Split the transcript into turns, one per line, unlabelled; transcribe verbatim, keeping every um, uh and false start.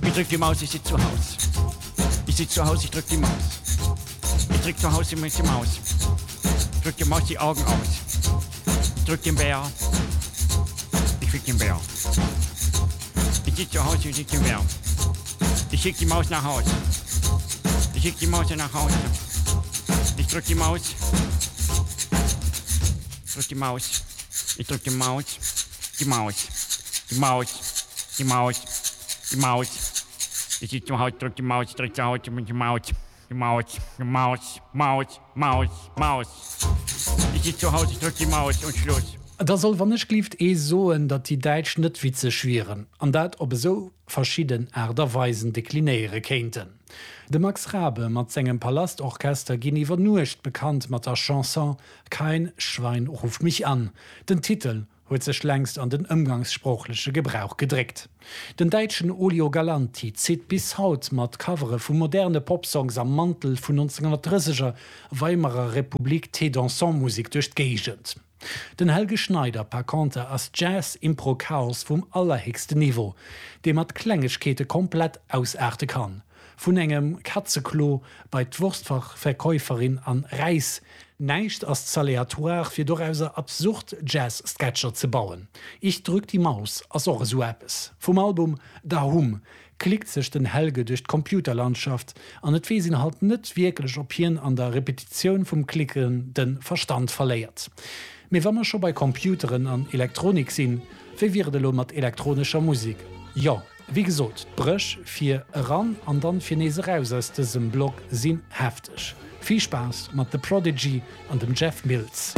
Ich drück die Maus, ich sitz zu Haus. Ich sitz zu Haus, ich drück die Maus. Ich drück zu Haus immer die Maus. Drück die Maus die Augen aus. Ich drück den Bär. Ich fick den Bär. Ich sitz zu Haus, ich drück den Bär. Ich schick die Maus nach Haus. Ich schick die Maus nach Hause. Ich drück die Maus. Drück die Maus. Ich drück die Maus. Die Maus. Die Maus. Die Maus. Die Maus. Ich sitz zu Haus, drück die Maus, drück zu Haus, die Maus. Die Maus. Die Maus. Maus. Maus. Maus. Ich sitz zu Haus, ich drück die Maus und Schluss.
Da soll wann-ech-glift ee soen, datt déi Däitsch net witzeg wieren, an dat op esou verschidden Aart a Weisen deklinéiere kéinten. De Max Raabe mat sengem Palastorchester ginn iwwer Nuecht bekannt mat der Chanson Kein Schwein ruft mich an. Den Titel huet sech längst an den ëmgangssproochleche Gebrauch gedréckt. Den däitschen Olio Galanti zitt bis haut mat Covere vu moderne Popsongs am Mantel vun nonzénghonnertdrësseger Weimarer Republik Thé-dansant-Musek duerch d'Géigend. Den Helge Schneider par conter ass Jazz-Impro-Chaos vum allerhéchsten Niveau, dee mat Klengegkeete komplett ausaarte kann. Vun engem Katzeklo bei d'Wurstverkäuferin an Räis, näischt ass ze aleatoire fir dorauser absurd Jazz-Sketcher ze bauen. Ich drück die Maus ass och esou eppes. Vum Album Dahoum klickt sech den Helge duerch d'Computerlandschaft an et weess een halt net wierklech ob hien an der Repetitioun vum Klicken de Verstand verléiert. Mee wa mer scho bei Computeren an Elektronik sinn, wéi wier et elo mat elektronescher Musek? Jo, wéi gesot, d'Bréch fir eran an dann fir nees eraus aus dësem Blog sinn hefteg. Vill Spaass mat The Prodigy an dem Jeff Mills.